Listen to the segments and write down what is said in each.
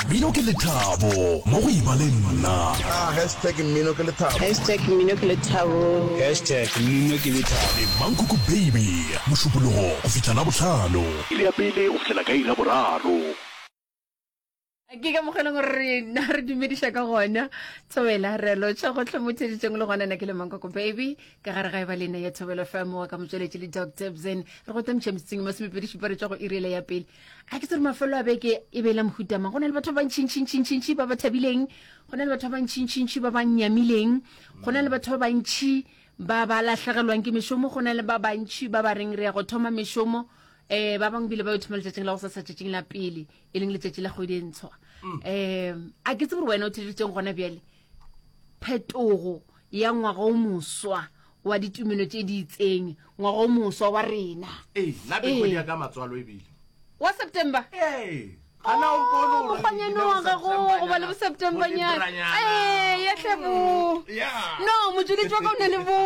Mmino ke lethabo mo go eba le nna. Ah, hashtag mmino ke lethabo. Hashtag mmino ke lethabo. Hashtag mmino ke lethabo. Le Mankoko Baby, Mošupologo go fihla Labohlano. Iri ya pele go fihlela ka iri ya boraro. Ke ka mokgwa e leng gore rena re dumediša ka gona thobela re lotšha gotlhe mo theditšeng le gona na ke le mankoko baby ka gare ga e ba lena ya thobela fm wa ka motsweletši le doctor bzen re go tamiša metsotsong e masomepedi šupa re tšwa go iriele ya pele a ke tsere mafelo a beke e be e la mohutamang go na le batho ba bantšhintšhintšhintšhi ba ba thabileng go na le batho ba bantšhintšhintšhi ba ba nyamileng go na le batho ba bantšhi ba ba lahlegelwang ke mešomo go na le ba bantšhi ba ba reng re ya go thoma mešomo um ba bangwe bile ba yo thoma letšatšing la go sasa tšatšing la pele e leng letšatši la kgwedi e ntshwa um a ke tsebe gore wena o theleditseng gona bjale phetogo ya ngwaga o moswa wa ditumelo tše di itseng ngwaga o moswa wa rena ee nna be kgwedi ya ka matswalo ebile wa september ee gana o mpone Oh, gore mokgwanyane ke wa gago September go ba le bo septembernyana Bo-Libranyana. ee ya tlhe bo Yeah. no motšweletši wa ka o na le bo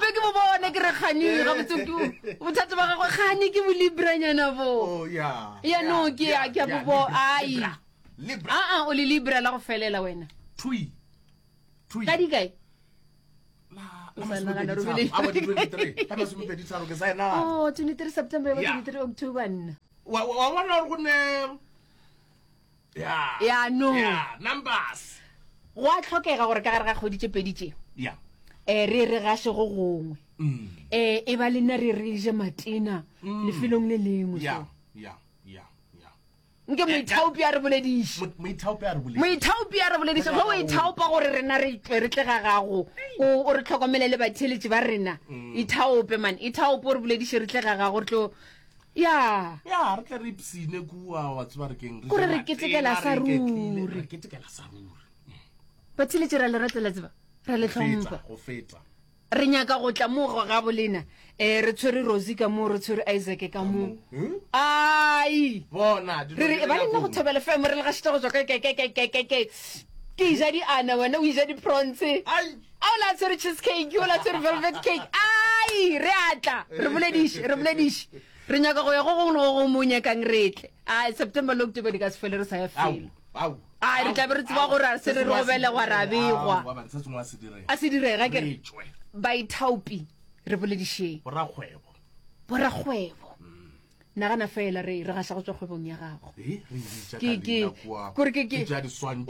be ke bo bona ke re kgane gabotse ke bothata ba gagwe kgane ke bolibranyana bo Oh, yeah. ya no ke ya ke a Yeah, bo bo Libra, ai Libra, Libra. aa o le libra la go felela wena Thui. Thui. ka dikae La- O la sa masomepedi nagana tharo. robele. Aowa, di 23. La masomepedi tharo, ke sa e nagana. oh 23 september ya ba Yeah. 23 october nna Wa wa bona gore go ne ya Ya, no. ya numbers go a tlhokega gore ka gare ga kgwedi tše pedi tše ya um re re gaše go gongwe mm. um e ba le nna re re je matena lefelong le lengwe ya so ya ya ya nke moithaopi a re bolediše Mo- moithaopi a re bolediše moithaopi a re bolediše ge o ithaopa gore rena re tle re tle ga gago o o re tlhokomele le batheeletši ba rena ithaope man ithaope o re bolediše re tle ga gago re tlo ya ya re tle re ipsine kua wa tseba re keng Kore re ketekela sa ruri. re ketekela sa ruri batheeletši ra le rata la tseba ra le tlhompha go feta re nyaka go tla mo go gabo lena um re tshwere rosie ka moo re tshwere isaac ka moo hmm? ai bona re re ba le nna go thobela fm re le gašitša go tswa ka ke ke ke ke ke ke ke ja di ana wena o ja di prawns a o la tshwere cheese cake o la tshwere velvet cake ai re atla re bolediše re bolediše re nyaka go ya go gongwe le go gongwe mo o nyakang re tle ai september le october di ka se fele re sa ya felo Ai, re tla be re tseba gore a se re re go belegwa ra begwa. A se direga ke re baithaopi re boledišeng. Borakgwebo. Borakgwebo. Nagana fela re re gaša go tswa kgwebong ya gago. Ke ke kore ke ke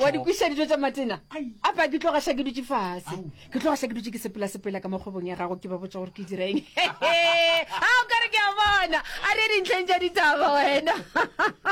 wa di kwiša dijo tša matena. Apa ke tlo gaša ke dutše fase. Ke tlo gaša ke dutše ke sepela sepela ka mo kgwebong ya gago ke ba botša gore ke dira eng. A o ka re ke a bona. A re dintlheng tša ditaba wena.